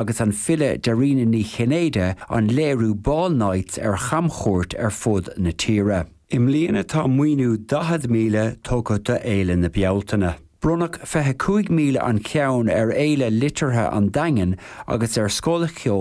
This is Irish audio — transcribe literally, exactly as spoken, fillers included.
agus an file Dairena Ní Chinnéide an léiriú Ball Nights ar chamchuairt ar fud na tíre. I mbliana tá maoiniú daichead míle tugtha d'Fhéile na Bealtaine. Bronnadh fiche cúig míle an ceann ar Fhéile Liteartha an Daingin agus ar Scoil Cheoil